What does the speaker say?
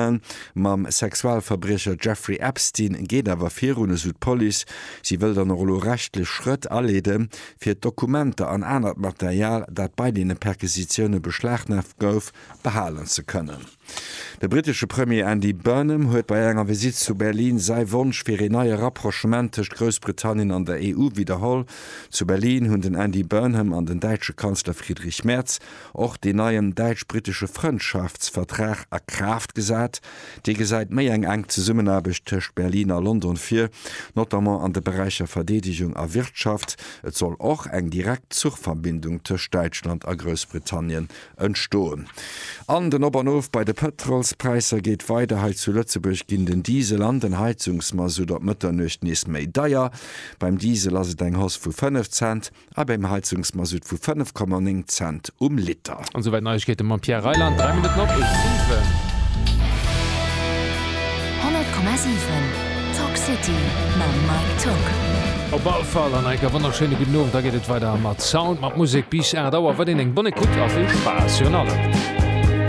Ghislaine mam Sexualverbriecher Jeffrey Epstein geet awer virun, esou d'Police. Si wëll dann och elo rechtlech Schrëtt aleeden, fir d'Dokumenter an anert Material, dat bei deene Perquisitioune beschlagnaamt gouf, behalen ze kënnen. De brittesche Premier Andy Burnham huet bei enger Visitt zu Berlin säi Wonsch fir een neie Rapprochement tëscht Groussbritannien an der EU widderholl. Zu Berlin hunn den Andy Burnham an den däitsche Kanzler Friedrich Merz och deen neien däitsch-brittesche Frëndschaftsvertrag a Kraaft gesat. Dee gesäit méi eng enk Zesummenaarbecht tëscht Berlin a London vir, notamment an de Beräicher Verdeedegung a Wirtschaft. Et soll och eng direkt Zuchverbindung tëscht Däitschland a Groussbritannien Entstoen. An den Op an Of bei de Pëtrolspräisser geet weider. Hei zu Lëtzebuerg ginn den Diesel an den Heizungsmasutt op Mëtternuecht nees méi deier. Beim Diesel ass et eng Hausse vu 5 Cent a beim Heizungsmasutt vu 5,9 Cent um Liter. An esouwäit Neiegkeete mam Pierre Reyland, 3 Minutten op 7. 100,7 Talk City mam Mike Tock. Op all Fall an enker wonnerschéine gudden Owend. Da geet et weider mat Sound, mat Musek bis 8 Auer. Weiderhin eng bonne Écoute a vill Spaass virun allem.